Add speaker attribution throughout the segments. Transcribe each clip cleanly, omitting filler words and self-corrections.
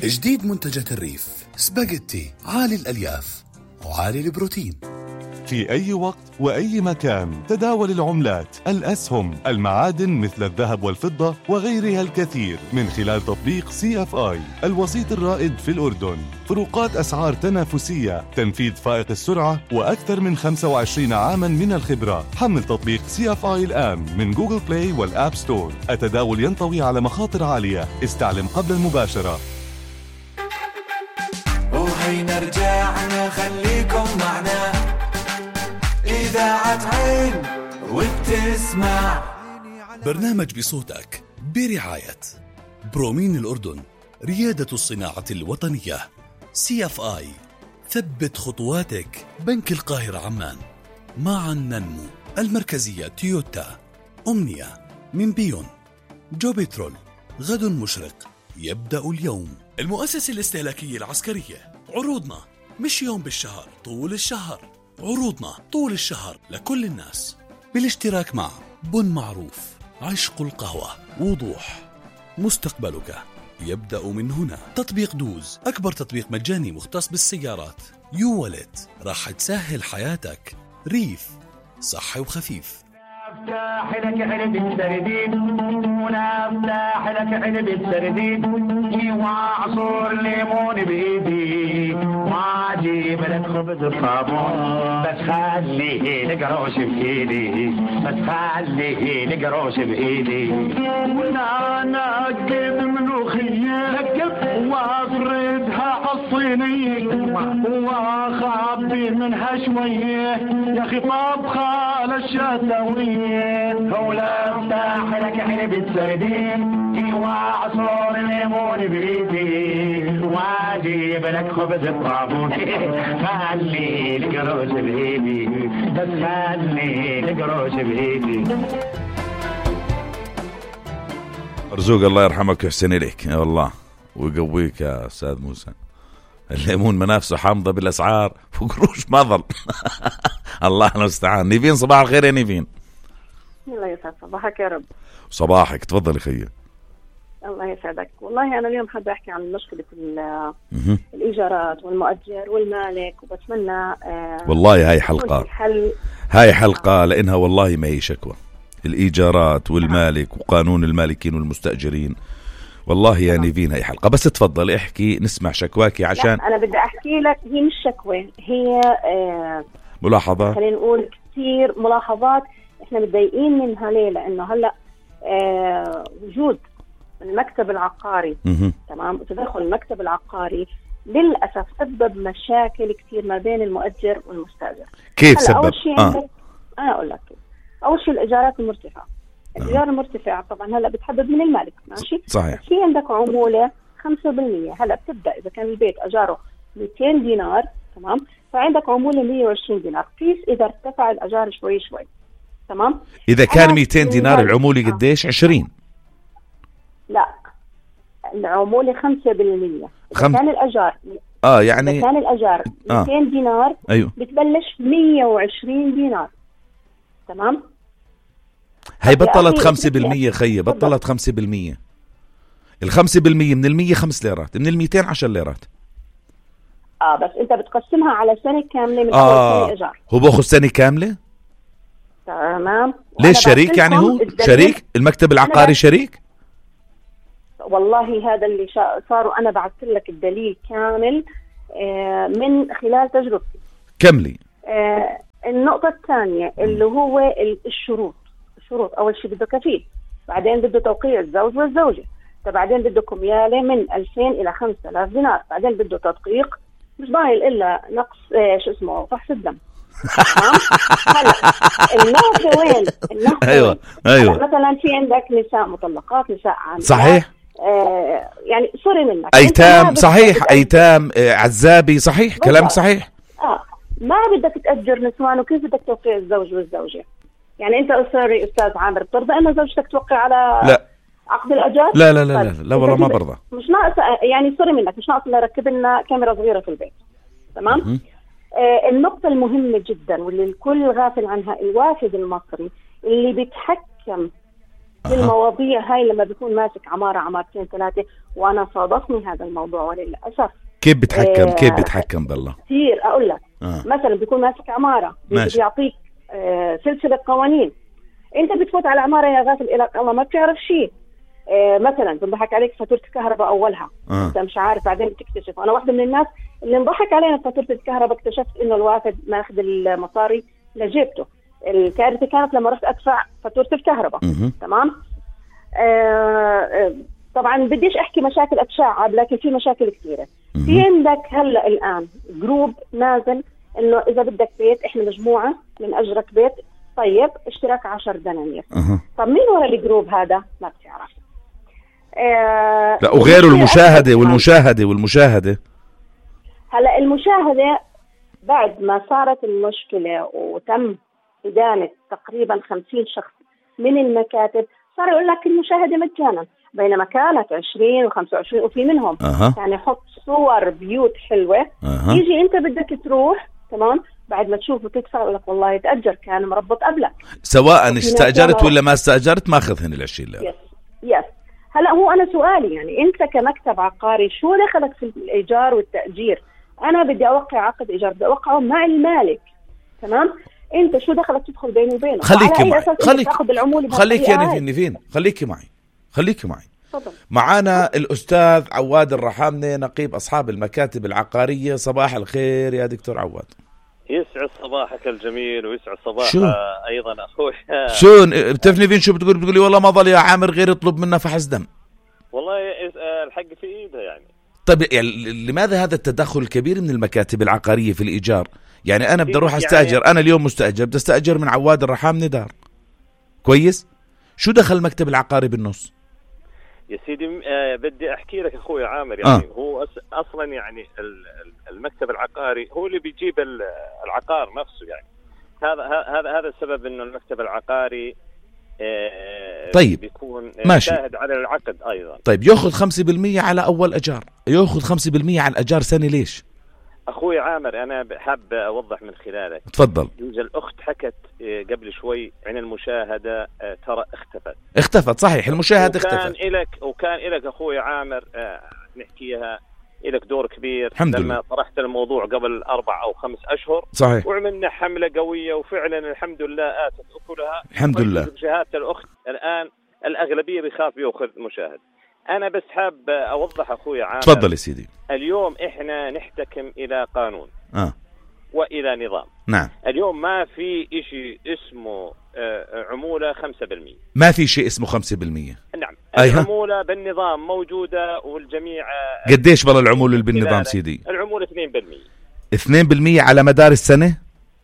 Speaker 1: جديد منتجات الريف سباجيتي عالي الألياف وعالي البروتين.
Speaker 2: في أي وقت وأي مكان تداول العملات، الأسهم، المعادن مثل الذهب والفضة وغيرها الكثير من خلال تطبيق CFI الوسيط الرائد في الأردن. فروقات أسعار تنافسية، تنفيذ فائق السرعة، وأكثر من 25 عاما من الخبرة. حمل تطبيق CFI الآن من جوجل بلاي والآب ستور. التداول ينطوي على مخاطر عالية، استعلم قبل المباشرة.
Speaker 3: وهينا رجعنا خليكم معنا إذاعة عين وبتسمع
Speaker 1: برنامج بصوتك برعاية برومين الأردن، ريادة الصناعة الوطنية. CFI ثبت خطواتك، بنك القاهرة عمان، معا ننمو، المركزية تويوتا، أمنية من بيون، جو بترول، غد مشرق يبدأ اليوم. المؤسسة الاستهلاكية العسكرية، عروضنا مش يوم بالشهر، طول الشهر. عروضنا طول الشهر لكل الناس، بالاشتراك مع بن معروف، عشق القهوة، وضوح، مستقبلك يبدأ من هنا. تطبيق دوز، أكبر تطبيق مجاني مختص بالسيارات. يو ولت، راح تسهل حياتك. ريف، صحي وخفيف.
Speaker 4: افتح لك علبة سردين، ونفتح لك علبة سردين، وعصور ليمون بإيدي، وعجيب لك خبز الصابون، بس خليه لك قروش بإيدي، بس خليه لك قروش بإيدي. وانا نقب ملوخية نقب وافردها عالصينية، واخبي منها شوية يا اخي طبخة للشتوية. ولا افتح لك علبة سردين، وعصور ليمون بإيدي، واجيب لك خبز الطابون، خلي لك قروش بإيدي، بس خلي لك قروش بإيدي.
Speaker 5: مرزوق الله يرحمك ويحسن إليك يا الله ويقويك يا أستاذ موسى. الليمون منافسه حامضة بالأسعار وقروش ما ظل. الله المستعان. نيفين صباح الخير يا نيفين.
Speaker 6: الله يسعد صباحك يا رب.
Speaker 5: صباحك، تفضلي خيّ.
Speaker 6: الله يسعدك. والله أنا اليوم حابة أحكي عن مشكلة الإيجارات والمؤجر والمالك، وبتمنى
Speaker 5: والله هاي حلقة لأنها والله ما هي شكوى. الإيجارات والمالك وقانون المالكين والمستأجرين، والله يا نيفين هاي حلقة. بس تفضلي احكي نسمع شكواكي عشان
Speaker 6: أنا بدي أحكي لك. هي مش شكوى، هي
Speaker 5: ملاحظات،
Speaker 6: خلينا نقول كثير ملاحظات احنا متضايقين منها. ليه؟ لأنه هلأ وجود المكتب العقاري تمام، وتدخل المكتب العقاري للأسف سبب مشاكل كثير ما بين المؤجر والمستأجر.
Speaker 5: كيف سبب؟
Speaker 6: أول شيء أنا أقول لك. أول شيء الإيجارات المرتفعة. الإيجار المرتفع طبعا هلأ بتحدد من المالك، ماشي؟
Speaker 5: صحيح.
Speaker 6: في عندك عمولة 5%. هلأ بتبدأ إذا كان البيت أجاره 200 دينار تمام، فعندك عمولة 120 دينار. قيس إذا ارتفع الأجار شوي شوي تمام.
Speaker 5: إذا كان 200 دينار العمولة قديش؟ 20؟
Speaker 6: لا، العمولة 5%. كان الأجار
Speaker 5: يعني
Speaker 6: إذا كان الأجار 200 دينار
Speaker 5: أيوه،
Speaker 6: بتبلش 120 دينار تمام.
Speaker 5: هاي بطلت 5% خيّ، بطلت 5%. 5% من 100 5 ليرات، من 200 10 ليرات.
Speaker 6: بس انت بتقسمها على سنة كاملة من أول سنة إيجار.
Speaker 5: هو باخذ سنة كاملة
Speaker 6: تمام.
Speaker 5: ليش شريك؟ يعني هو شريك المكتب العقاري شريك.
Speaker 6: والله هذا اللي صاروا. أنا بعثت لك الدليل كامل من خلال تجربتي.
Speaker 5: كملي.
Speaker 6: النقطة الثانية اللي هو الشروط. أول شيء بده كفيل، بعدين بده توقيع الزوج والزوجة، بعدين بده كميالة من 2000 إلى 5000 دينار، بعدين بده تدقيق، مش ضايل إلا نقص فحص الدم. هلا النقطة وين؟
Speaker 5: أيوة.
Speaker 6: مثلا في عندك نساء مطلقات، نساء عاملات.
Speaker 5: صحيح.
Speaker 6: يعني سوري منك.
Speaker 5: أيتام. صحيح. أيتام، عزابي. صحيح. كلامك صحيح.
Speaker 6: ما بدك تأجر نسوان، وكيف بدك توقيع الزوج والزوجة؟ يعني أنت سوري أستاذ عامر، بترضى أن زوجتك توقع على عقد الأجار؟
Speaker 5: لا لا لا لا, لا والله ما برضى.
Speaker 6: مش ناقص يعني سوري منك، مش ناقص إلا ركب لنا كاميرا صغيرة في البيت تمام. النقطة المهمة جدا واللي الكل غافل عنها، الوافد المصري اللي بيتحكم المواضيع هاي لما بيكون ماسك عمارة عمارتين 3. وأنا صادفني هذا الموضوع وللأسف.
Speaker 5: كيف بتحكم كيف بتحكم بالله
Speaker 6: كثير أقول لك. مثلا بيكون ماسك عمارة بيعطيك سلسلة قوانين. أنت بتفوت على عمارة يا غافل إلى الله ما بتعرف شيء. مثلا بنضحك عليك فاتورة الكهرباء أولها أنت مش عارف، بعدين بتكتشف. أنا واحدة من الناس اللي انضحك علينا فاتورة الكهرباء، اكتشفت إنه الواحد ماخذ المصاري لجيبته. الكارثة كانت لما رحت أدفع فاتورة الكهرباء. تمام. طبعا بديش أحكي مشاكل أتشعب، لكن في مشاكل كثيرة. في عندك هلأ الآن جروب نازل إنه إذا بدك بيت إحنا مجموعة من أجرك بيت، طيب اشتراك 10 دنانير. طب مين ورا الجروب هذا؟ ما بتعرف.
Speaker 5: لا وغيره والمشاهدة
Speaker 6: هلا المشاهدة بعد ما صارت المشكلة وتم إدانة تقريبا 50 شخص من المكاتب، صار يقول لك المشاهدة مجانا، بينما كانت 20 و25 وفي منهم يعني يحط صور بيوت حلوة. يجي أنت بدك تروح تمام بعد ما تشوفه تدفع يقول لك والله يتأجر كان مربط قبلك،
Speaker 5: سواء استأجرت ولا ما استأجرت ماخذهن ال20.
Speaker 6: يس. هلا هو أنا سؤالي يعني أنت كمكتب عقاري شو دخلك في الإيجار والتأجير؟ أنا بدي أوقع عقد إيجار، بدي أوقعه مع المالك. تمام. أنت شو دخلك تدخل بيني وبينه؟
Speaker 5: خليكي معي خليكي معي.
Speaker 6: فضل.
Speaker 5: معانا الأستاذ عواد الرحامنة نقيب أصحاب المكاتب العقارية. صباح الخير يا دكتور عواد.
Speaker 7: يسعد صباحك الجميل ويسعد صباح أيضا أخوي.
Speaker 5: شو بتفني فين شو بتقولي والله ما ظل يا عامر غير يطلب منا فحص دم.
Speaker 7: والله الحق في إيده يعني.
Speaker 5: طيب يعني لماذا هذا التدخل الكبير من المكاتب العقارية في الإيجار؟ يعني أنا بدي أروح أستأجر، أنا اليوم مستأجر بدي أستأجر من عواد الرحامنة دار كويس، شو دخل المكتب العقاري بالنص؟
Speaker 7: يا سيدي بدي أحكي لك أخوي عامر يعني هو أصلا يعني المكتب العقاري هو اللي بيجيب العقار نفسه يعني. هذا السبب إنه المكتب العقاري
Speaker 5: طيب
Speaker 7: بيكون
Speaker 5: ماشي
Speaker 7: شاهد على العقد أيضا.
Speaker 5: طيب يأخذ 5% على أول أجار، يأخذ 5% على الأجار سنة ليش؟
Speaker 7: أخوي عامر أنا حاب أوضح من خلالك.
Speaker 5: تفضل.
Speaker 7: يوجد الأخت حكت قبل شوي عن المشاهدة، ترى
Speaker 5: اختفت صحيح، المشاهدة اختفت.
Speaker 7: وكان إلك أخوي عامر نحكيها إلك دور كبير
Speaker 5: الحمد
Speaker 7: لما طرحت الموضوع قبل 4 أو 5 أشهر
Speaker 5: صحيح،
Speaker 7: وعملنا حملة قوية وفعلا الحمد لله آتت أكلها.
Speaker 5: الحمد لله.
Speaker 7: شهادة الأخت الآن الأغلبية بيخاف يأخذ مشاهد. أنا بس حاب أوضح أخوي عامر.
Speaker 5: تفضل يا سيدي.
Speaker 7: اليوم إحنا نحتكم إلى قانون وإلى نظام.
Speaker 5: نعم.
Speaker 7: اليوم ما في إشي اسمه عمولة 5%.
Speaker 5: ما في شيء اسمه 5%.
Speaker 7: نعم. العمولة بالنظام موجودة والجميع.
Speaker 5: قديش بالله العمولة اللي بالنظام سيدي؟
Speaker 7: العمولة 2%.
Speaker 5: 2% على مدار السنة؟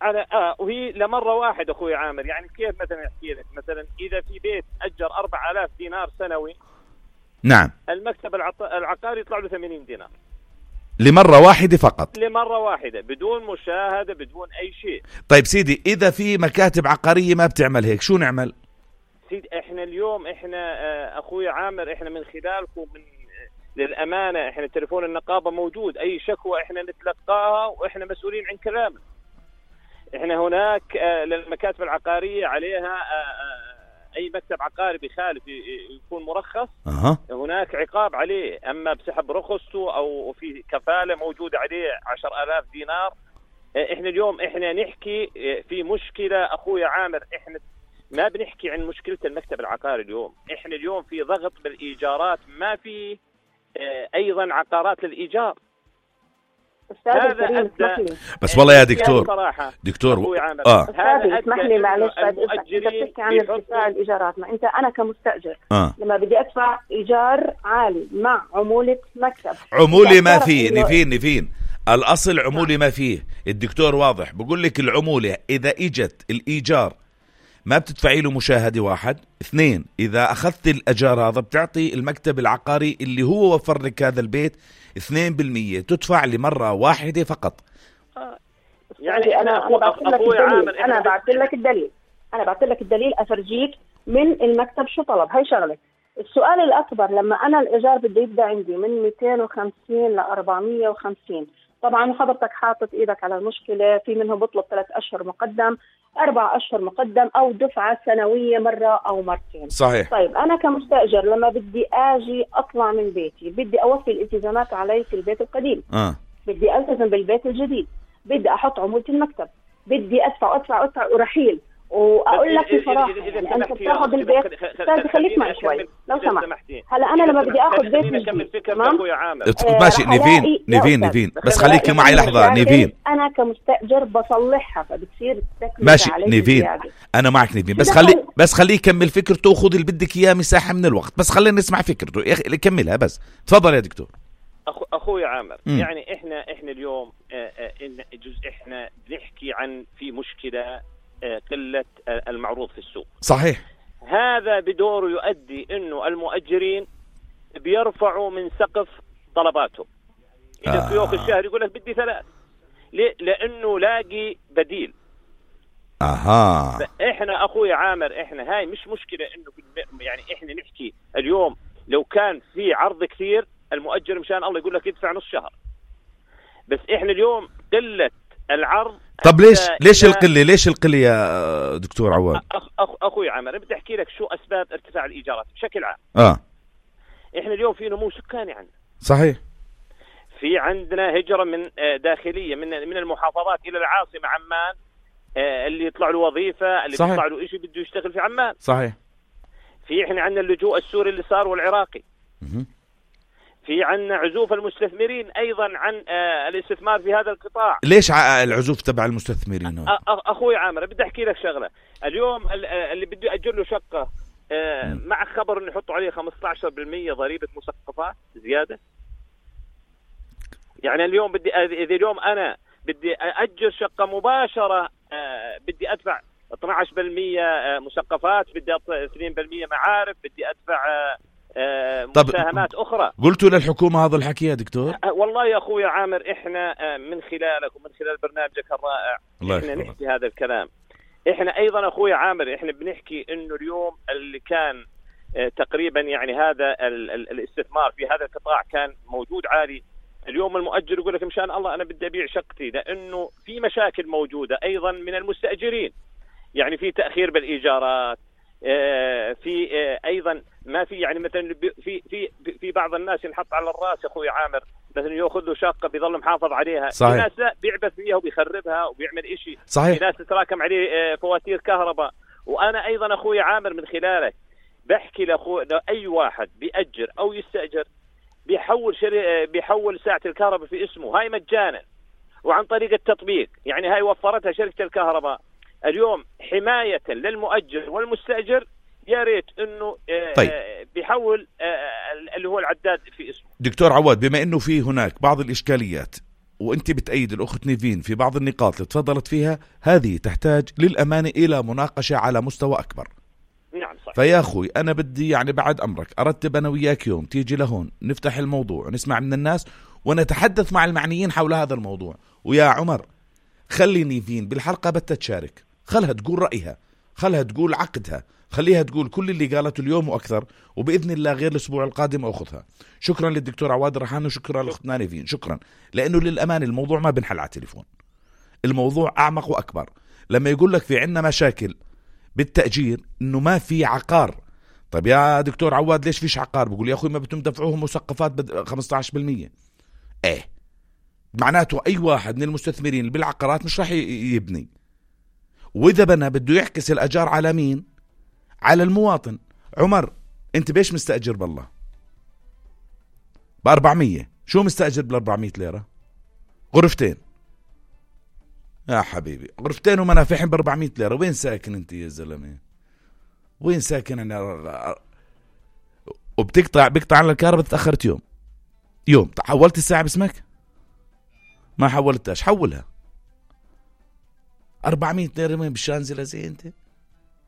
Speaker 7: على وهي لمرة واحد أخوي عامر. يعني كيف مثلا أحكي لك مثلا إذا في بيت أجر 4000 دينار سنوي.
Speaker 5: نعم.
Speaker 7: المكتب العقاري يطلع له 80 دينار.
Speaker 5: لمرة واحدة فقط.
Speaker 7: لمرة واحدة بدون مشاهدة بدون أي شيء.
Speaker 5: طيب سيدي إذا في مكاتب عقارية ما بتعمل هيك شو نعمل؟
Speaker 7: سيدي إحنا اليوم أخوي عامر إحنا من خلالكم للأمانة إحنا تليفون النقابة موجود، أي شكوى إحنا نتلقاها وإحنا مسؤولين عن كلامنا. إحنا هناك للمكاتب العقارية عليها أي مكتب عقاري بخالف يكون مرخص هناك عقاب عليه، أما بسحب رخصته أو في كفالة موجودة عليه 10,000 دينار. إحنا اليوم إحنا نحكي في مشكلة أخويا عامر، إحنا ما بنحكي عن مشكلة المكتب العقاري اليوم. إحنا اليوم في ضغط بالإيجارات، ما في أيضا عقارات للإيجار. هذا أدى
Speaker 5: بس والله يا دكتور
Speaker 6: هذا اسمح لي معلش انت بتحكي عن ارتفاع الايجارات. ما انت انا كمستاجر لما بدي ادفع ايجار عالي مع عمولة مكتب،
Speaker 5: عمولة ما فيه نفين الاصل عمولة ما فيه. الدكتور واضح بقول لك العمولة اذا اجت الايجار ما بتدفعي له مشاهدة 1، 2 إذا أخذت الأجار هذا بتعطي المكتب العقاري اللي هو وفر لك هذا البيت 2% تدفع لمرة واحدة فقط.
Speaker 6: يعني أنا بعت لك الدليل أفرجيك من المكتب شو طلب. هاي شغلة. السؤال الأكبر لما أنا الإيجار بده يبدأ عندي من 250 ل 450، طبعا حضرتك حاطط ايدك على المشكله، في منهم بطلب 3 أشهر مقدم، 4 أشهر مقدم، او دفعه سنويه مره او مرتين.
Speaker 5: صحيح.
Speaker 6: طيب انا كمستاجر لما بدي اجي اطلع من بيتي، بدي اوفي الالتزامات علي في البيت القديم، بدي التزم بالبيت الجديد، بدي احط عمولة المكتب، بدي ادفع ورحيل. واقول لك بصراحه يعني انت بتاخذ البيت، استاذ خليك معي شوي لو سمحت. هلا انا لما بدي اخذ بيت جديد، تمام
Speaker 5: ماشي نيفين بس خليكي معي لحظه نيفين.
Speaker 6: انا كمستاجر بصلحها، فبتصير
Speaker 5: ماشي نيفين، انا معك نيفين، بس خليه يكمل فكرته وخذ اللي بدك اياه مساحه من الوقت، بس خلينا نسمع فكرته يكملها بس. تفضل يا دكتور.
Speaker 7: اخوي عامر، يعني احنا اليوم احنا بنحكي عن في مشكله قلة المعروض في السوق.
Speaker 5: صحيح.
Speaker 7: هذا بدوره يؤدي انه المؤجرين بيرفعوا من سقف طلباتهم. إذا في يوم الشهر يقول لك بدي 3، لانه لاقي بديل. احنا اخوي عامر، احنا هاي مش مشكلة انه يعني احنا نحكي اليوم لو كان في عرض كثير المؤجر مشان الله يقول لك يدفع نص شهر، بس احنا اليوم قلة العرض.
Speaker 5: طب ليش القلة يا دكتور عواد؟
Speaker 7: اخوي عامر بدي احكي لك شو اسباب ارتفاع الايجارات بشكل عام. احنا اليوم في نمو سكاني عندنا.
Speaker 5: صحيح.
Speaker 7: في عندنا هجرة من داخلية من المحافظات الى العاصمة عمان، اللي يطلع له وظيفة، اللي يطلع له شيء بده يشتغل في عمان.
Speaker 5: صحيح.
Speaker 7: في احنا عندنا اللجوء السوري اللي صار والعراقي. في عنا عزوف المستثمرين أيضا عن الاستثمار في هذا القطاع.
Speaker 5: ليش العزوف تبع المستثمرين؟
Speaker 7: أخوي عامر بدي أحكي لك شغلة. اليوم اللي بده يأجر له شقة مع خبر إنه يحطوا عليه 15% ضريبة مسقفات زيادة. يعني اليوم إذا اليوم أنا بدي أأجر شقة مباشرة بدي أدفع 12% مسقفات، بدي أدفع 2% معارف، بدي أدفع مساهمات أخرى.
Speaker 5: قلتوا للحكومة هذا الحكي يا دكتور؟
Speaker 7: والله يا أخوي عامر إحنا من خلالك ومن خلال برنامجك الرائع إحنا نحكي هذا الكلام. إحنا أيضا أخوي عامر إحنا بنحكي إنه اليوم اللي كان تقريبا يعني هذا الاستثمار في هذا القطاع كان موجود عالي. اليوم المؤجر يقول لك مشان الله أنا بدي أبيع شقتي، لأنه في مشاكل موجودة أيضا من المستأجرين، يعني في تأخير بالإيجارات، في ايضا ما في يعني مثلا في بعض الناس ينحط على الراس اخوي عامر مثلا ياخذ له شقه بيظل محافظ عليها.
Speaker 5: صحيح.
Speaker 7: في ناس لا بيعبث فيها وبيخربها وبيعمل إشي.
Speaker 5: صحيح.
Speaker 7: في ناس تتراكم عليه فواتير كهرباء. وانا ايضا اخوي عامر من خلالك بحكي اي واحد بيأجر او يستأجر بيحول ساعه الكهرباء في اسمه، هاي مجانا وعن طريق التطبيق، يعني هاي وفرتها شركه الكهرباء. اليوم حماية للمؤجر والمستأجر يا ريت انه بيحول اللي هو العداد في اسمه.
Speaker 5: دكتور عواد، بما انه في هناك بعض الاشكاليات وانت بتأيد الاخت نيفين في بعض النقاط اللي تفضلت فيها، هذه تحتاج للأمانة الى مناقشة على مستوى اكبر.
Speaker 7: نعم صحيح.
Speaker 5: فيا اخوي انا بدي يعني بعد امرك ارتب انا وياك يوم تيجي لهون نفتح الموضوع ونسمع من الناس ونتحدث مع المعنيين حول هذا الموضوع. ويا عمر خلي نيفين بالحلقة تشارك، خلها تقول رأيها، خلها تقول عقدها، خليها تقول كل اللي قالته اليوم وأكثر، وبإذن الله غير الأسبوع القادم أخذها. شكرا للدكتور عواد رحان وشكرا لأختنا نيفين. شكرا، لأنه للأمان الموضوع ما بنحل على التليفون، الموضوع أعمق وأكبر. لما يقول لك في عنا مشاكل بالتأجير إنه ما في عقار، طيب يا دكتور عواد ليش فيش عقار؟ بقول يا أخوي ما بتم دفعوهم مسقفات 15%. معناته أي واحد من المستثمرين اللي بالعقارات مش راح يبني، وإذا بنا بده يحكس الأجار على مين؟ على المواطن. عمر أنت بيش مستأجر بالله؟ ب400. شو مستأجر بال400 ليرة؟ غرفتين يا حبيبي، غرفتين ومنافحهم ب400 ليرة. وين ساكن أنت يا زلمة؟ وين ساكن أنا؟ وبتقطع على الكهرباء. تأخرت يوم حولت الساعة باسمك؟ ما حولتهاش، حولها. 400 ليرة وين بالشانزلة زي انت؟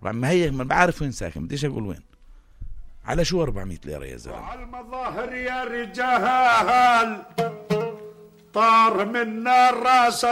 Speaker 5: ما هي ما بعرف وين ساكن، بديش اقول وين. على شو 400 ليرة يا زلمة؟
Speaker 8: وعلى المظاهر يا رجال طار منا الراس